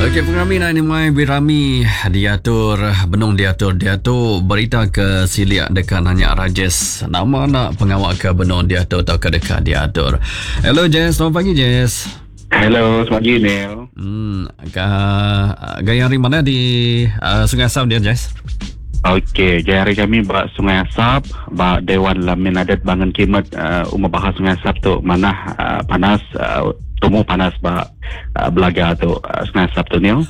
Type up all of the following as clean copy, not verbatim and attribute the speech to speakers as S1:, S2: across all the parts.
S1: Okey, pengerami Nai Nemai Birami diatur benung diatur diatu berita ke silik deka nanya Rajes nama nak pengawa ke benung diatur atau ke deka diatur. Hello Jess, selamat pagi Jess.
S2: Hello, selamat pagi Neil.
S1: Hmm, ka, gaya hari mana di uh, Sungai Asap dia Jess?
S2: Okey, gaya hari kami ba Sungai Asap, ba Dewan Lamin Adat Bangan Kimet uh, Umar Bahar Sungai Asap tu manah uh, panas uh, tumu panas ba uh, belaga tu uh, Sungai Asap tu Neil.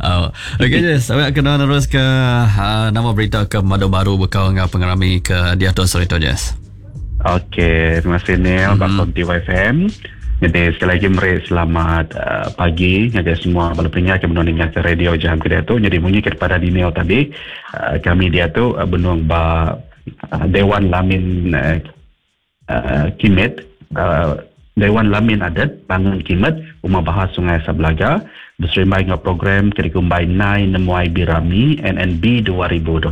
S1: Oh. Okey Jess, awak kena terus ke uh, nama berita ke madu baru bekau dengan pengerami ke diatur sore tu Jess.
S2: Okey, terima kasih Neil mm-hmm. ba TYFM. Jadi sekali lagi meri selamat uh, pagi ngagai semua bala pengingat ke benung ninga ke radio jam ke diatu. Jadi munyi ke pada di Neil tadi, uh, kami diatu uh, benung ba uh, Dewan Lamin uh, uh, Kimet, uh, Dewan Lamin Adat Bangun Kimet, Rumah Bahas Sungai Sablaga, beserimbai enggau program ke dikumbai Nai Nemuai Birami NNB 2026.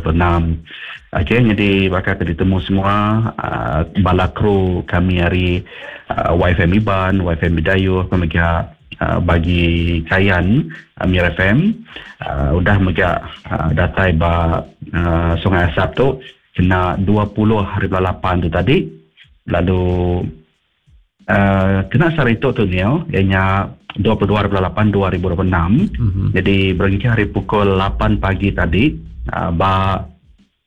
S2: Okey, nyadi baka ke ditemu semua uh, bala kru kami ari uh, YFM Iban, YFM Bidayuh, mega uh, bagi Kayan uh, Mir FM uh, udah mega uh, datai ba uh, Sungai Asap tu kena 20 hari bulan 8 tu tadi lalu uh, kena sehari tu tu Neil ianya 22 hari bulan 8 2026 mm-hmm. Jadi berengkah hari pukul 8 pagi tadi uh, ba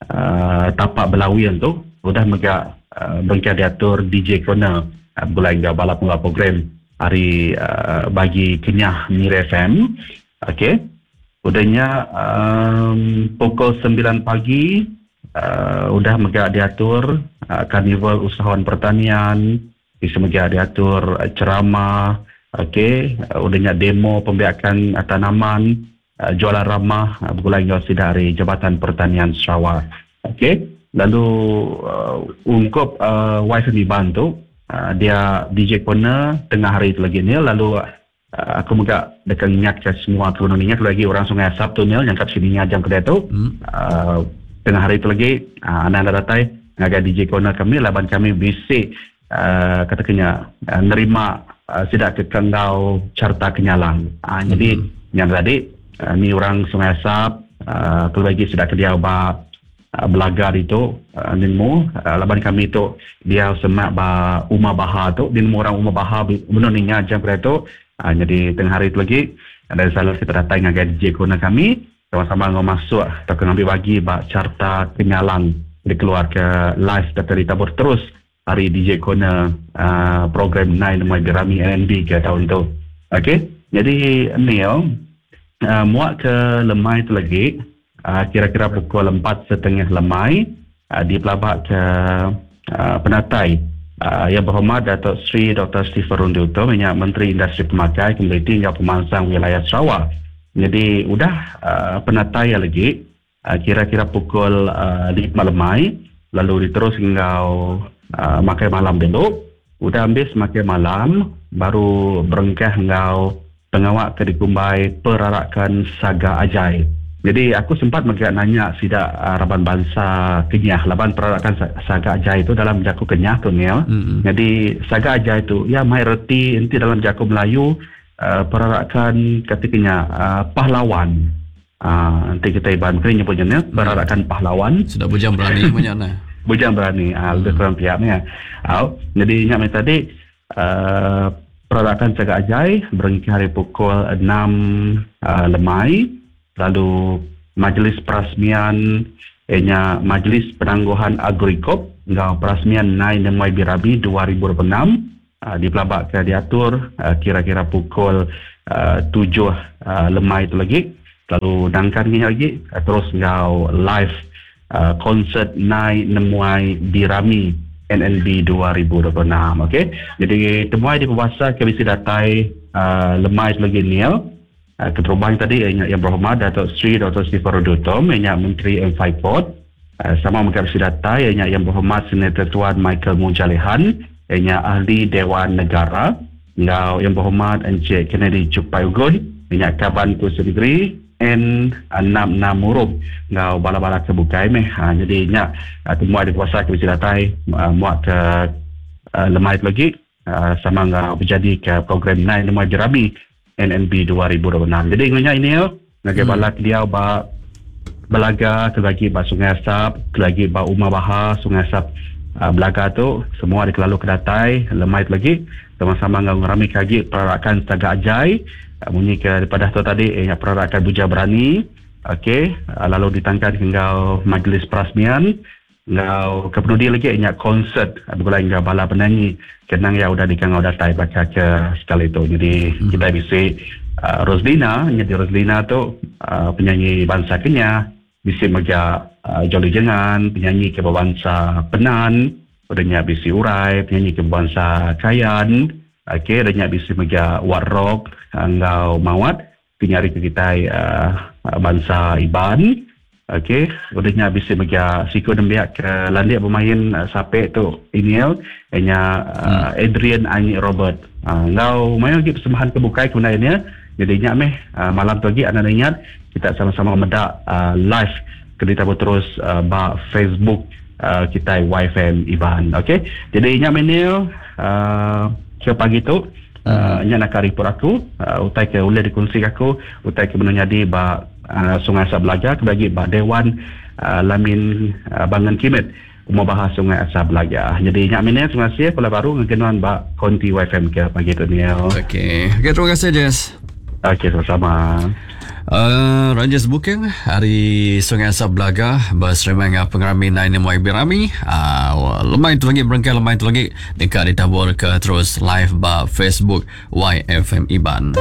S2: uh, tapak Belawian tu udah mega uh, berengkah diatur DJ Corner uh, begulai enggau bala pengelola program hari uh, bagi Kenyah Mir FM. Okey. Udahnya um, pukul 9 pagi uh, udah mega diatur uh, Karnival Usahawan Pertanian, bisa mega diatur uh, ceramah, okey, uh, udahnya demo pembiakan uh, tanaman, uh, jualan ramah uh, begulai enggau sida ari Jabatan Pertanian Sarawak. Okey, lalu uh, ungkup uh, wife Iban tu uh, dia DJ Corner tengah hari itu lagi ni lalu Uh, aku mega deka ngingatka semua ke benung ninga kelebih agi orang Sungai Asap tu Neil nyangkap sini ninga jam kedai tu. Hmm. Uh, tengah hari tu lagi uh, anak anda datai ngagai DJ Corner kami laban kami bisi uh, kata kenya uh, nerima uh, sida ke enggau carta kenyalang. Uh, hmm. Jadi yang tadi uh, ni orang Sungai Asap uh, kelebih agi sida ke diau ba uh, Belaga ditu uh, nemu uh, laban kami tu dia semak ba Uma Baha tu di nemu orang Uma Baha benung ninga jam kedai tu uh, jadi tengah hari tu lagi ada salah kita datai ngagai DJ Corner kami sama-sama ngau masuk atau ngambil bagi ba carta kenyalang dikeluar ke live daripada ditabur terus hari DJ Corner uh, program Nai Nemuai Birami NNB ke tahun tu. Okey. Jadi Neil uh, muak ke lemai tu lagi uh, kira-kira pukul 4.30 lemai uh, di pelabak ke uh, penatai uh, Yang Berhormat Datuk Seri Dr. Stephen Rundi Utom ianya Menteri Industri Pemakai Komuniti hingga Pemansang Wilayah Sarawak. Jadi udah uh, penatai lagi uh, kira-kira pukul uh, 5 lemai lalu diterus enggau uh, makai malam dulu. Udah habis makai malam baru berengkah enggau pengawak ke dikumbai perarakan Saga Ajai. Jadi aku sempat mega nanya sida uh, raban bansa Kenyah laban perarakan Saga Ajai itu dalam jaku Kenyah tu Neil. Mm-hmm. Jadi Saga Ajai itu ya mai reti enti dalam jaku Melayu uh, perarakan ketikanya uh, pahlawan. Uh, nanti kita iban kena nyebutnya ni perarakan pahlawan.
S1: Sudah bujang berani banyak nah.
S2: Bujang berani ah uh, lebih kurang pihaknya. Uh, jadi ingat tadi uh, perarakan Saga Ajai berhenti hari pukul 6 uh, lemai lalu majlis perasmian ianya majlis penangguhan Agrikop enggau perasmian Nai Nemuai Birabi 2026 uh, dipelabak ke diatur uh, kira-kira pukul uh, 7 uh, lemai itu lagi lalu nangkan ni lagi uh, terus enggau live uh, konsert Nai Nemuai Birami NNB 2026 okey. Jadi temuai di puasa ke bisi datai uh, lemai lagi Neil. Uh, keterubang tadi yang, yang berhormat Datuk Seri Dr. Stephen Rudutom yang Menteri M5 Port. Uh, sama mega bisi datai yang, yang berhormat Senator Tuan Michael Mujalihan yang ahli Dewan Negara enggau yang berhormat Encik Kennedy Chupai Ugon yang Kaban Kursi Negeri N66 Murum enggau bala-bala ke bukai meh. Ha, jadi nya uh, temuai di kuasa ke bisi datai uh, muak ke uh, lemai tu lagi uh, sama enggau berjadi ke program Nai Nemuai Jerabi NNB 2026. Jadi ngenya ini ngagai bala ke diau ba Belaga ke lagi ba Sungai Asap, ke lagi ba Uma Baha, Sungai Asap Belaga tu semua dikelalu ke datai lemai tu lagi sama-sama enggau ngerami ke agi perarakan Saga Ajai munyi ke dipadah tu tadi iya nya perarakan Bujang Berani okey lalu ditangkan ke enggau majlis perasmian enggau ke penudi lagi iya nya konsert begulai enggau bala penanyi kenang iya udah dikangau datai baka ke sekali tu. Nyadi kitai bisi Roslina, nyadi Roslina tu penyanyi bansa Kenyah, bisi mega Jolly Jengan penyanyi ke bebansa Penan, udah nya bisi Urai penyanyi ke bebansa Kayan, okey udah nya bisi mega Wat Rock enggau Mawat Ti nyari ke kitai bansa Iban. Okey, udah nya bisi mega siku nembiak ke landik bemain sape tu Inil iya nya Adrian Anyi Robert. Enggau mayuh agi persembahan ke bukai ke menda Inil. Jadi nya meh malam tu agi anda ingat kita sama-sama meda live ke ditabuh terus ba Facebook kitai YFM Iban. Okey. Jadi nya meh Inil ke pagi tu. Nya naka riput aku, utai ke ulih dikunsi aku, utai ke benung nyadi ba Sungai Asap Belaga kelebih agi ba Dewan Lamin Bangen Kimet, Uma Baha Sungai Asap Belaga. Nyadi nya mih Neil, terima kasih pulai baru ngagai nuan ba Konti YFM ke pagi tu Neil.
S1: Okey, okay, terima kasih Jess.
S2: Okey, sama-sama.
S1: Rajes Buking ari Sungai Asap Belaga beseremai enggau pengerami Nai Nemuai Birami. Lemai tu lagi berengkah lemai tu lagi deka ditabur ke terus live ba Facebook YFM Iban.